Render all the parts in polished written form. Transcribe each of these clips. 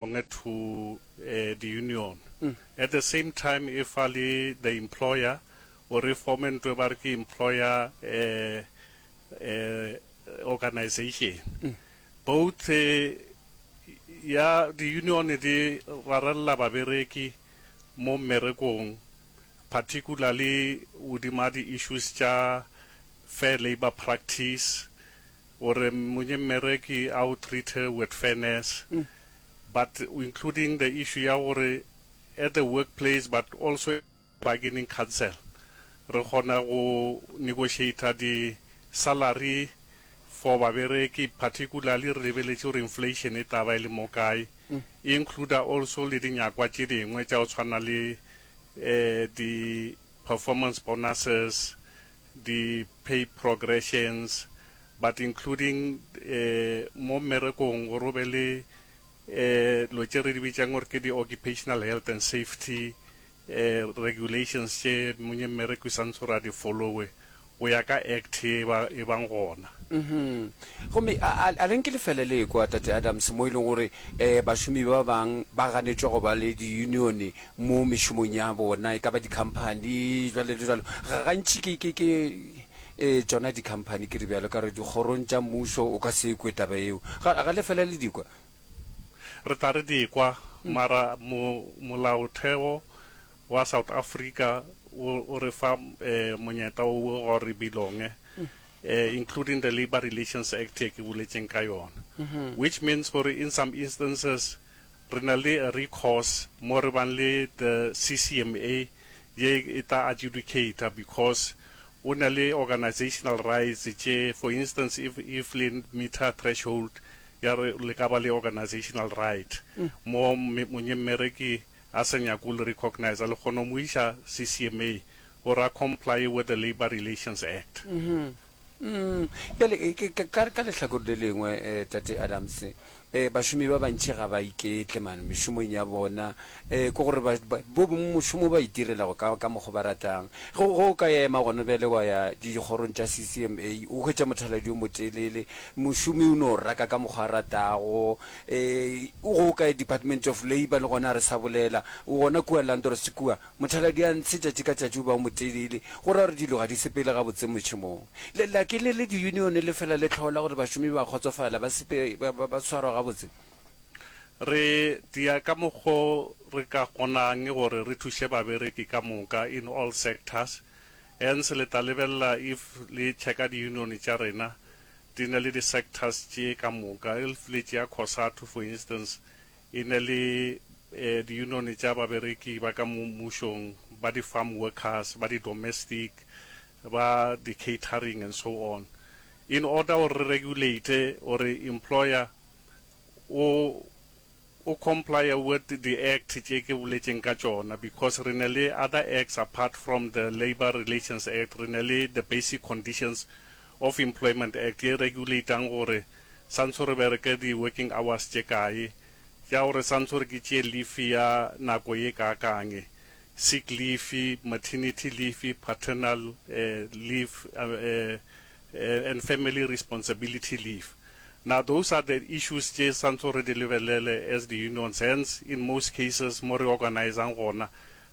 Belonge to the union. At the same time e fa le the employer gore e forme ntho e ba re ke employer organization. Both ya di union di rarella babereki mo mmerekong particularly godima di issues tša fair labour practice, Gore monye mmereki a o treat-e with fairness but including the issue ya gore at the workplace but also bargaining council re kgona go negotiator di salary for babereki particularly re lebeletše gore inflation e tla ba e le mo kae, e includer also le dinyakwa tše dingwe tša go tshwana le di performance bonuses, di pay progressions but including mo mmerekong gore o be le dilo tše re di bitšang gore ke di occupational health and safety regulations tše monye mmereki santse gore a di followe go ya ka act e ba e bang gona. Gomme a, a, a le nke le fele le ekwa, Tate Adams, mo e leng gore um bašomi ba bang ba ganetšwa go ba le diyunione mo mešomong ya bona, e ka ba dikhamphani, jwalo le jwalo. Ga, gantši ke, ke, ke e, tšona dikhamphani, ke re bjalo, ka re dikgorong tša mmušo o ka se kwe taba yeo. Ga, ga le fela le di kwa? Re tla re di kwa, mara mo, molaotheo wa South Africa o, o re fa e, monyetla wo gore re belonge, e, including the Labour Relations Act ye ke boletšeng ka yona, which means gore in some instances Re na le a recourse mo re bang le the CCMA ye e tla adjudicata because o na le organisational rights tše, for instance if if le meter threshold ya re le ka ba le organisational right mo monyemmereki a sa nyake go le recognise le kgona go mo iša CCMA gore a comply with the Labour Relations Act. Mm, bjale e, ke, ka, ka, ka lehlakore le lengwe, eh, Tate Adams, eh, bašomi ba bantši ga ba iketle man mešomong ya bona, eh, ke gore ba, ba, bo bongwe mošomo ba itirelago ka, ka mokgo ba ratang. Ge, ge o ka ema gona bjale wa ya dikgorong tša CCMA, o hwetša mothaladi o motelele, mošomi o no raka ka mokgo a ratago, eh, ge o ka ya Department of Labour le gona a re sa bolela, gona kua Landros kua, Mothaladi a ntshe tšatši ka tšatši o ba o motelele, go ra gore dilo ga di sepele gabotse mošomong. Le la ke le le diyunione le fela le hlola gore bašomi ba kgotsofala, ba sepe, ba, ba, ba swarwa gabotse. Re dia ka mokgo re ka kgonang gore re thuše babereki ka moka in all sectors. Hence le tla lebelela if le checka diyunione tša rena di na le di sectors tše ka moka. If le tšea Cosatu for instance E ne le diyunione tša babereki ba ka mo mmušong, ba di-farm workers, ba di-domestic, ba di-catering and so on. In order gore re regulate gore employer o o complye with di-act tše ke boletšeng ka tšona because re ne le other acts apart from the Labour Relations Act, re ne le the Basic Conditions of Employment Act ye regulatang gore santse re bereke di working hours tše kae, tša gore santse gore ke tšee leave ya nako ye kaakang, sick leave, maternity leave, paternal leave and family responsibility leave. Now those are the issues tše santse re di lebelele as di unions, hence in most cases mo re organisang gona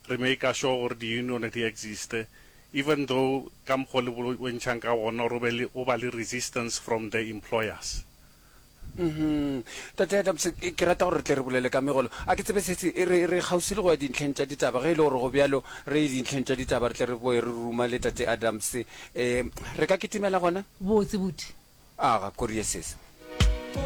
re maker sure gore di union di existe Even though ka mokgwa o le bontšhang ka gona gore o be le, go ba le resistance from the employers. Mhm. Tate Adams, ke rata gore re tle re bolele ka megolo. A ke tsebe sesi, re, re kgauswi le go ya dintlheng tša ditaba. Ge e le gore go bjalo, re ye dintlheng tša ditaba, re tle re boe re ruma le Tate Adams. Um, re ka kitimela gona? Botse, buti. Aga, korie sesi.